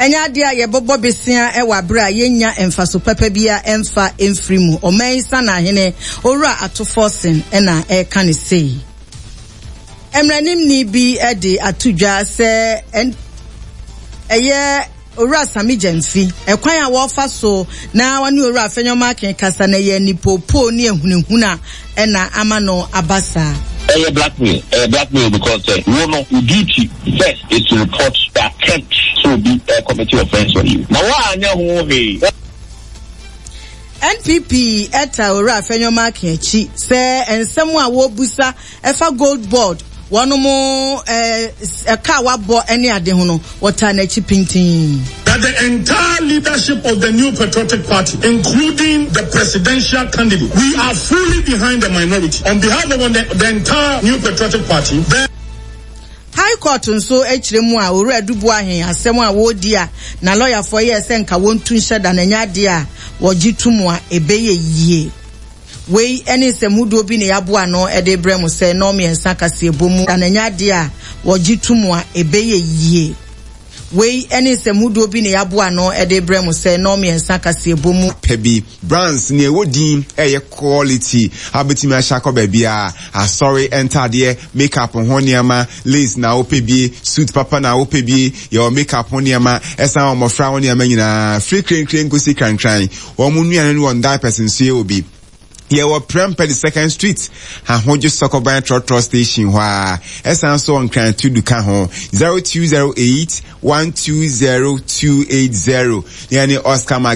Ɛnyɛ adeɛ a yɛbɛbɔ besea wɔ aberɛ a yɛnnya mfaso papa biara mfa mfiri mu. Ɔman yi Sanahene, Owura Ato Forson na ɛreka no sei. Mmaranimni bi de ato dwa sɛ ɛyɛ Owura Sammy Gyamfi, ɛkwan a wɔrefa so na wɔne Owura Afenyo-Markin kasa no ɛyɛ anipoopoo ne ahunahuna na ama no aba saa. Ɛyɛ blackmail, ɛyɛ blackmail because sɛ wo no wo duty first is to report the attempt sɛ obi ɛcommit offence on you na woanyɛ ho hwee. NPP taa Owura Afenyo-Markin akyi sɛ nsɛm a wɔrebisa ɛfa Gold Board wɔnom ɛka a wabɔ ne ade ho no, wɔtaa n'akyi pintinn. That the entire leadership of the New Patriotic Party, including the presidential candidate, we are fully behind the minority. On behalf of the, the entire New Patriotic Party, the High Court nso kyerɛ mu a Owura Adu Boahen asɛm a wɔredi a na lɔyafoɔ yɛɛ sɛ nka wɔntu nhyɛ da no ɛnyɛ adeɛ a wɔgye to mu a ɛbɛyɛ yie. Wei ne nsɛm hodoɔ bi na yɛaboa ano de rebrɛ mo sɛ nnɔnmiɛnsa kaseɛbɔ mu da no ɛnyɛ adeɛ a wɔgye to mu a ɛbɛyɛ yie. Wei ne nsɛm hodoɔ bi na yɛaboa ano de rebrɛ mo sɛ nnɔnmiɛnsa kaseɛbɔ mu. Pɛ bi. Brands, nea ɛwɔ din ɛyɛ quality a wobɛtumi ahyɛ akɔ baabiara, asɔre ntaadeɛ, makeup ho nneɛma, lace na wopɛ bi, suit papa na wopɛ bi, yɛwɔ makeup ho nneɛma, ɛsan wɔ mmɔfra ho nneɛma nyinaa, firi krenkren kɔsi krankran. Wɔn nnuane ne wɔn diapers nso yɛwɔ bi. Yɛwɔ Prempeh the Second Street, Ahodwo Sɔkɔban Trɔtrɔ Station hɔ ara. Ɛsan so wɔ Nkran Tudu ka ho. 0208 120280. Yɛne Oscar Mag.